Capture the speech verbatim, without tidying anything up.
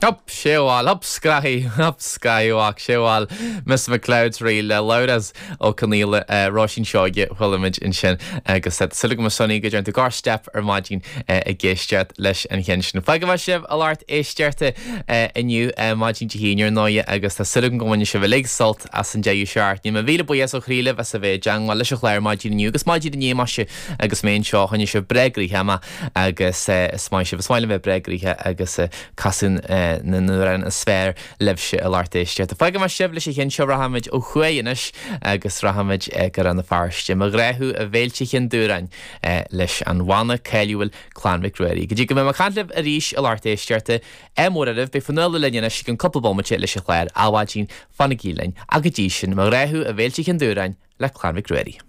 Hup, séháil, hup scraí, hup scaiach séháil, Miss McLeod rí le Labhrás Ó Conghaile Róisín Seoige chualamid ansin agus súil agam a Sonny go dtearn tú gáir step ar maidin ag éisteacht leis an cheann sin. Fágfaidh mé sibh a lucht éisteachta inniu maidin Dé hAoine ar ndóigh agus tá súil agam go mbainfidh sibh uilig sult as an deireadh seachtaine. Mo mhíle buíochas ó chroí libh as a bheith i dteagmháil leis an chlár maidin inniu agus maidin inné maise agus mé anseo choinnigh sibh breá gnoitheach mé agus is maith sibh is maith liom bheith breá gnoitheach agus casadh na n-amhrán is fearr libhse a lucht éisteachta. Fágfaidh mé sibh leis an cheann seo rachaimid ó thuaidh anois agus rachaimid go Rann na Feirste. Mo ghrá thú a bhéilte Chinn Dúráin leis an bhanna cáiliúil Clann Mhic Ruairí. Go dtí go mbeidh mé ag caint libh arís a lucht éisteachta ádh mór oraibh beidh Fionnuala linn anois go cúpla bomaite leis an chlár Adhmhaidin fanaigí linn ach go dtí sin mo ghrá thú a bhéilte Chinn Dúráin le Clann Mhic Ruairí.